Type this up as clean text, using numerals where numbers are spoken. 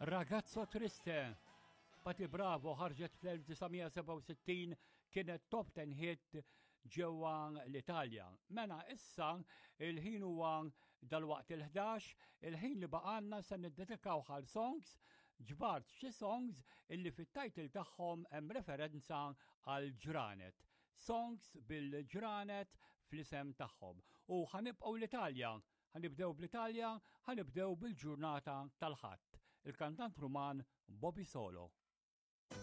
Ragazzo Triste. Patti Bravo ħarġet fl-1967 kienet top 10 hit ġewwa l-Italja. Mela issa il-ħin huwa dalwaqt il-11, il-ħin li baqanna se niddedikaw għal songs, ġbart xi songs illi fit-title tagħhom hemm referenza għal ġranet. Songs bil-ġranet fl-isem tagħhom. U ħanibqgħu l-Italja Ħa nibdew bl-Italja, ħa nibdew bil-ġurnata tal-Ħadd. Il-kantant Ruman Bobby Solo.